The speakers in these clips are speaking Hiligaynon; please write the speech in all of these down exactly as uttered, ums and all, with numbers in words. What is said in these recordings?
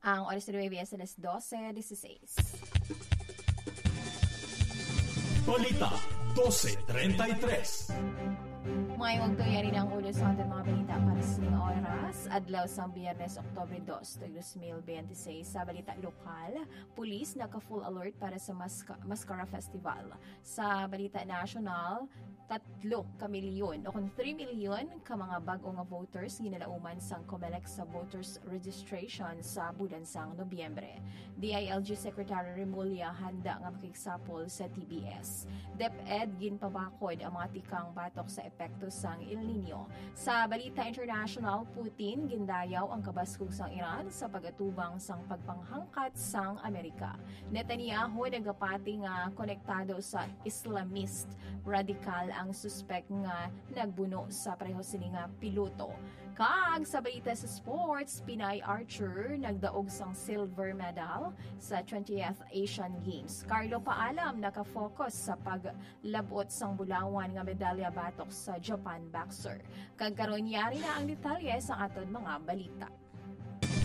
Ang oras sa Nueve East, alas dose dieciséis. Balita dose treinta y tres. May magtuya rin ang ulo sa ating mga balita para sa oras. Adlaw sa Biyernes, Oktubre dos, tuig dos mil biyente seis. Sa balita lokal, pulis naka-full alert para sa Masca- Mascara Festival. Sa balita national, tatlo ka milyon o kung three million ka mga bag-o nga voters ginalauman sang Comelec sa voters registration sa bulan sang Nobyembre. D I L G Secretary Remulla handa nga makigsapol sa T B S. DepEd ginpabakod ang mga tikang batok sa epekto sang El Nino. Sa balita international, Putin gindayaw ang kabaskog sang Iran sa pag-atubang sang pagpanghangkat sang Amerika. Netanyahu nagapati nga konektado sa Islamist radikal ang suspek nga nagbuno sa pareho sini nga piloto. Kag sa balita sa sports, Pinay archer nagdaog sang silver medal sa twentieth Asian Games. Carlo Paalam nakafocus sa paglabot sang bulawan nga medalya batok sa Japan boxer. Kag karon, yari na ang detalye sa aton mga balita.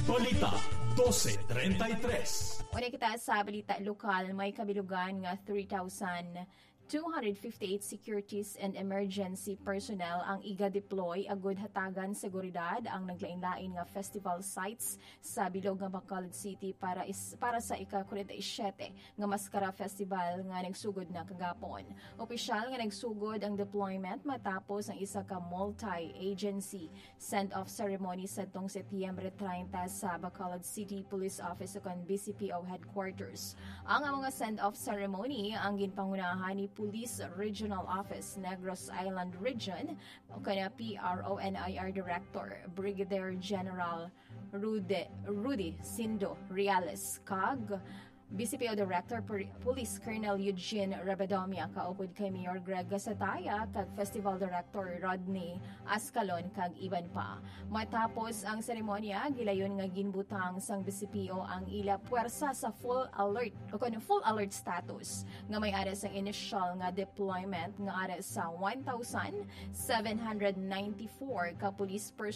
Balita dose treinta y tres. Una kita sa balita lokal, may kabilugan nga three thousand two hundred fifty-eight securities and emergency personnel ang iga-deploy agud hatagan seguridad ang naglain-lain nga festival sites sa bilog nga Bacolod City para is, para sa ika-forty-seven nga Mascara Festival nga nagsugod na kagapon. Opisyal nga nagsugod ang deployment matapos ang isa ka multi-agency send-off ceremony sadtong Setyembre treinta sa Bacolod City Police Office ukon B C P O headquarters. Ang amo nga send-off ceremony ang ginpangunahan ni Police Regional Office Negros Island Region ukon P R O N I R Director Brigadier General Rude, Rudy Sindo Reales kag B C P O Director Pol- Police Colonel Eugene Rebedomia, kaupod kay Mayor Greg Gasataya kag Festival Director Rodney Ascalon kag iban pa. Matapos ang seremonya, gilayon nga ginbutang sang B C P O ang ila puwersa sa full alert o kon full alert status nga may ara sang initial nga deployment nga ara sa one thousand seven hundred ninety-four ka police personnel